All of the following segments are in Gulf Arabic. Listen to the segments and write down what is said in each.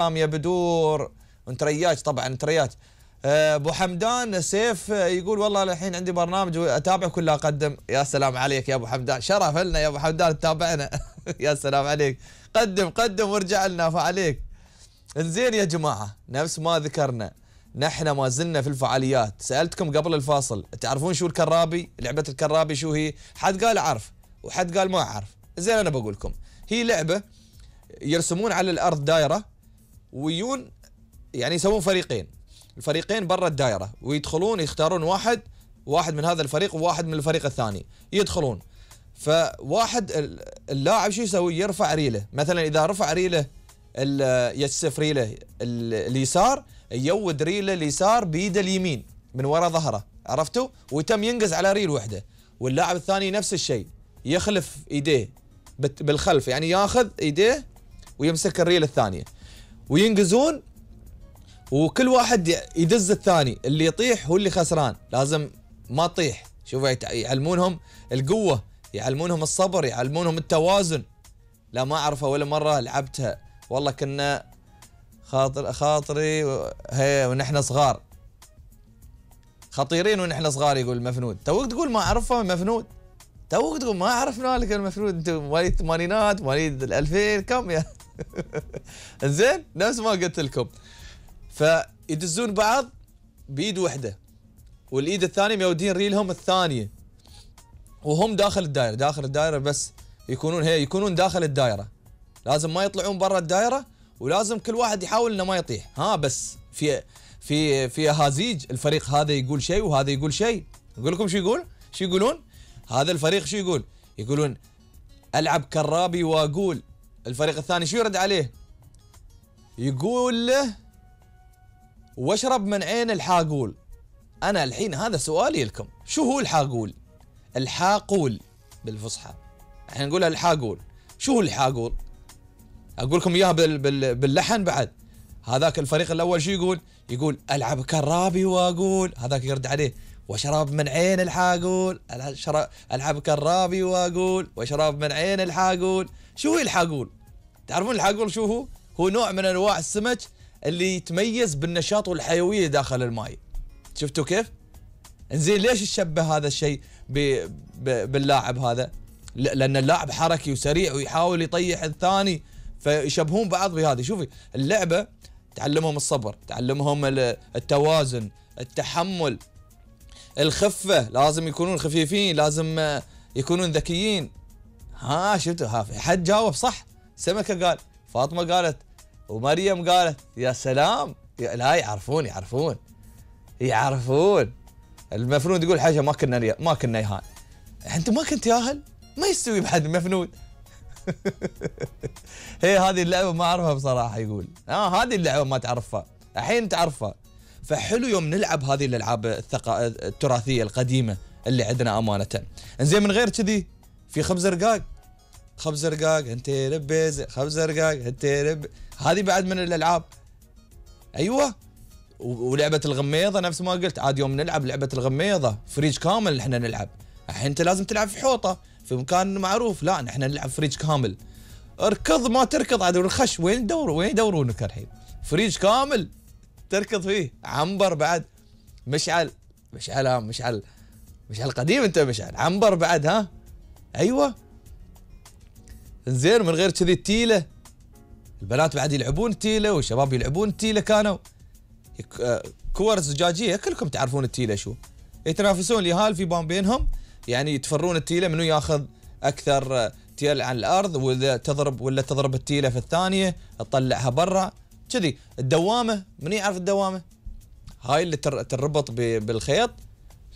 يا بدور وانت رياج طبعا انت رياج. ابو حمدان سيف يقول والله الحين عندي برنامج واتابع كله اقدم. يا سلام عليك يا ابو حمدان، شرف لنا يا ابو حمدان تتابعنا. يا سلام عليك، قدم وارجع لنا فعليك. انزين يا جماعه، نفس ما ذكرنا نحن ما زلنا في الفعاليات. سالتكم قبل الفاصل تعرفون شو الكرابي؟ لعبه الكرابي شو هي؟ حد قال اعرف وحد قال ما اعرف. زين انا بقول لكم، هي لعبه يرسمون على الارض دائره ويون، يعني يسوون فريقين، الفريقين برا الدائره ويدخلون يختارون واحد من هذا الفريق وواحد من الفريق الثاني يدخلون. فواحد اللاعب شو يسوي؟ يرفع ريله، مثلا اذا رفع ريله يسف ريله اليسار يود ريله اليسار بيده اليمين من وراء ظهره، عرفتوا؟ ويتم ينقز على ريل وحده، واللاعب الثاني نفس الشيء يخلف ايديه بالخلف، يعني ياخذ ايديه ويمسك الريل الثانيه وينقزون، وكل واحد يدز الثاني، اللي يطيح هو اللي خسران، لازم ما تطيح. شوفوا يعلمونهم القوه، يعلمونهم الصبر، يعلمونهم التوازن. لا ما اعرفها ولا مره لعبتها، والله كنا خاطري هي ونحن صغار، خطيرين ونحن صغار. يقول المفنود توك تقول ما اعرفها مفنود، توك تقول ما عرفنا لك المفنود، انتم مواليد الثمانينات مواليد ال2000 كم يا زين نفس ما قلت لكم. فيدزون بعض بيد وحده والايد الثانيه ميودين ريلهم الثانيه وهم داخل الدائره بس يكونون داخل الدائره، لازم ما يطلعون برا الدائره، ولازم كل واحد يحاول انه ما يطيح. بس في هازيج، الفريق هذا يقول شيء وهذا يقول شيء. اقول لكم شو يقولون هذا الفريق شو يقولون العب كرابي واقول. الفريق الثاني شو يرد عليه؟ يقول له واشرب من عين الحاقول. انا الحين هذا سؤالي لكم، شو هو الحاقول؟ الحاقول بالفصحى، احنا نقولها الحاقول. شو هو الحاقول؟ اقول لكم اياها باللحن بعد. هذاك الفريق الاول شو يقول العب كرابي واقول، هذاك يرد عليه واشرب من عين الحاقول، العب كرابي واقول واشرب من عين الحاقول. شو هو الحاقول؟ تعرفون الحاقول شو هو؟ هو نوع من انواع السمك اللي يتميز بالنشاط والحيويه داخل الماء. شفتوا كيف؟ انزين ليش تشبه هذا الشيء باللاعب هذا؟ لان اللاعب حركي وسريع ويحاول يطيح الثاني، فيشبهون بعض بهذه. شوفي اللعبه تعلمهم الصبر، تعلمهم التوازن، التحمل، الخفه، لازم يكونون خفيفين، لازم يكونون ذكيين. شفتوا؟ حد جاوب صح، سمكه قال، فاطمه قالت، ومريم قالت. يا سلام، لا يعرفون. المفنود يقول حاجه ما كنا يهان. انت ما كنت ياهل؟ ما يستوي بحد المفنود. هي هذه اللعبه ما اعرفها بصراحه. يقول هذه اللعبه ما تعرفها، الحين تعرفها. فحلو يوم نلعب هذه الالعاب التراثيه القديمه اللي عندنا امانه. انزين من غير كذي في خبز رقاق انت لبيز، خبز رقاق انت هذه بعد من الالعاب. ايوه، ولعبه الغميضه نفس ما قلت. عاد يوم نلعب لعبه الغميضه فريج كامل احنا نلعب. الحين انت لازم تلعب في حوطه في مكان معروف، لا نحن نلعب فريج كامل. اركض ما تركض عاد الخش، وين يدورونك الحين؟ فريج كامل تركض فيه. عنبر بعد، مشعل قديم انت، مشعل عنبر بعد. ايوه. زين من غير كذي التيله، البنات بعد يلعبون التيله والشباب يلعبون التيله. كانوا كور زجاجيه، كلكم تعرفون التيله شو. يتنافسون اليهال في بينهم، يعني يتفرون التيله منو ياخذ اكثر تيل عن الارض، واذا تضرب التيله في الثانيه تطلعها برا كذي. الدوامه، من يعرف الدوامه؟ هاي اللي تربط بالخيط،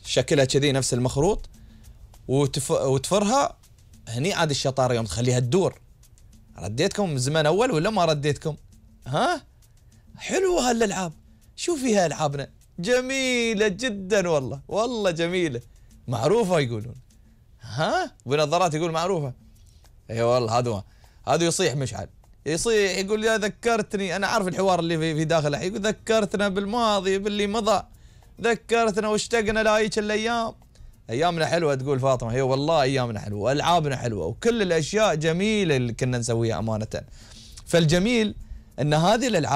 شكلها كذي نفس المخروط، وتفرها. هني عاد الشطاره يوم تخليها تدور. رديتكم من زمان اول ولا ما رديتكم؟ حلوه هالالعاب. شو فيها العابنا جميله جدا، والله جميله، معروفه يقولون. بنظارات يقول معروفه. اي والله هذا يصيح مشعل، يصيح يقول يا ذكرتني. انا عارف الحوار اللي في داخله، يقول ذكرتنا بالماضي باللي مضى، ذكرتنا واشتقنا لهيك الايام. ايامنا حلوه تقول فاطمه. هي والله ايامنا حلوه والعابنا حلوه وكل الاشياء جميله اللي كنا نسويها امانه. فالجميل ان هذه الالعاب